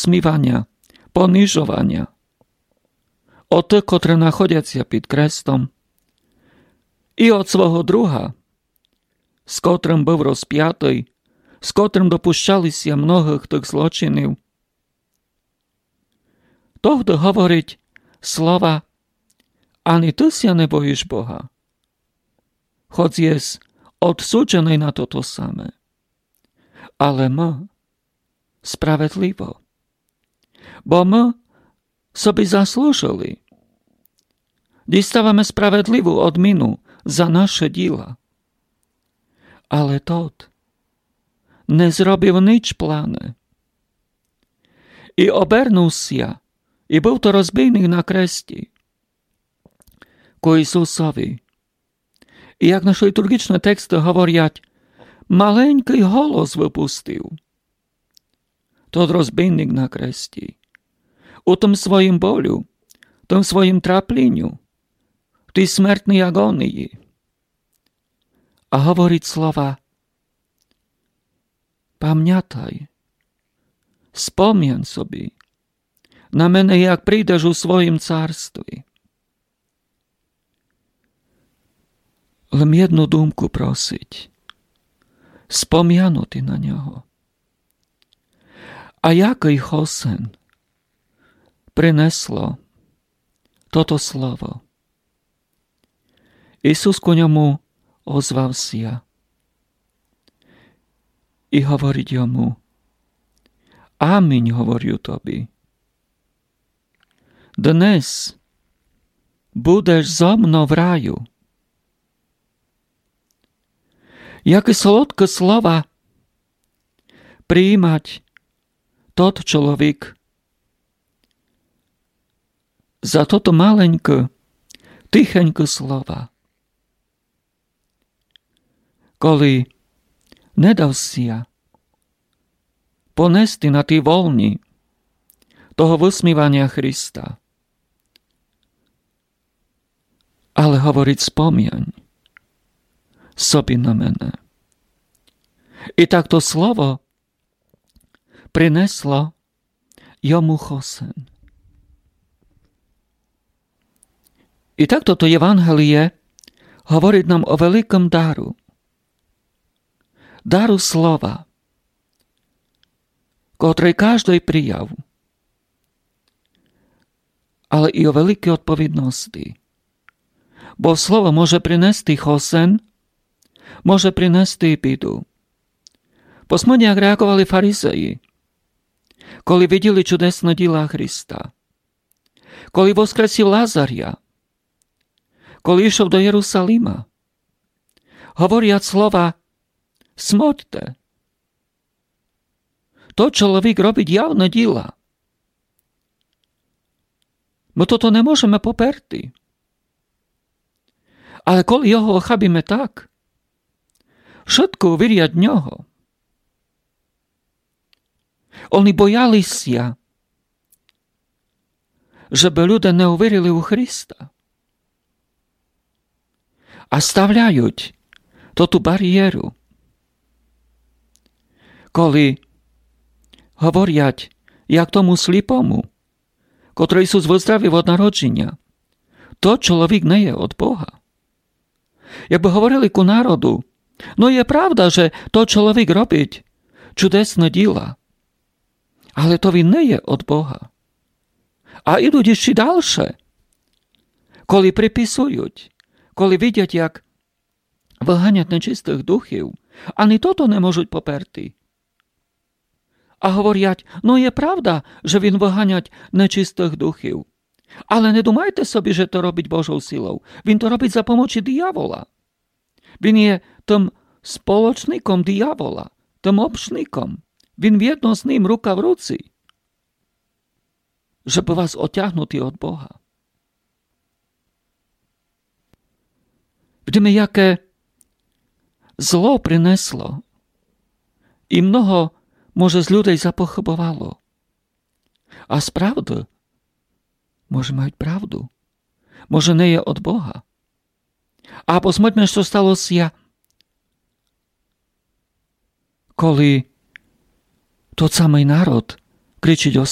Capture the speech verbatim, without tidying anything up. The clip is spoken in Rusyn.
высміваня, понижованя од тых, котры находять ся під крестом, і од свого друга, з котрым быв розпятый, з котрым допущали ся многых тых злочинів, тогды говорить слова: «Ани ты ся не боїш Бога, хоц єс одсудженый на тото саме». Але мы справедливо, бо мы собі заслужили, діставаме справедливу одміну за нашы діла. Але тот не зробив нич плане. І обернув ся, і быв то розбійник на кресті, ку Ісусови. І як наші літурґічны тексты говорять, маленькый голос выпустив. Тот розбійник на кресті, у тым своїм болю, тым своїм трапліню, в тій смертній агонії. А говорить слова: «Памнятай, спомян собі на мене, як прийдеш у своїм царстві». Лем єдну думку просить: спомянути на нього. А якый хосен принесло тото слово? Ісус ку ньому озвав ся і говорить йому: «Амінь говорю тобі, днес будеш зо мнов в раю». Якы солодкы слова приїмать тот чоловік за тото маленькы, тихенькы слова. Коли не дав ся понести на тій волні того высміваня Христа, але говорить: «Спомянь собі на мене». І так то слово принесло йому хосен. І так тото Євангеліє говорить нам о великым дару. Дару слова, котрый каждый прияв, але і о великій одповідности. Бо слово може принести хосен, може принести і біду. Посмотрите, як реаґовали фаризеї, коли виділи чудесны діла Христа, коли воскресив Лазаря, коли йшов до Єрусалима. Говорять слова: «Смотрте, тот чоловік робить явны діла. Мы тото не можеме поперти». Але коли його охабиме так, вшыткы увірять в нього. Они бояли ся, жебы люде не увірили у Христа. А ставляють тоту барієру. Коли говорять, як тому сліпому, котрого Ісус выздравив од народжіня: «Тот чоловік не є од Бога». Якбы говорили ку народу: «Но, є правда, же тот чоловік робить чудесны діла, але то він не є од Бога». А ідуть іщи дальше, коли приписують, коли видять, як выганять нечистых духів, ани тото не можуть поперти. А говорять: «Но, є правда, же він выганять нечистых духів. Але не думайте собі, же то робить Божов силов. Він то робить за помочи диявола. Він є тым сполочником диявола, тым общником. Він вєдно з ним рука в руці, жебы вас отягнути од Бога». Видиме, яке зло принесло. І много, може, з людей запохыбовало. А справды, може, мають правду. Може, не є од Бога. А посмотрме, што стало ся, коли тот самый народ кричить о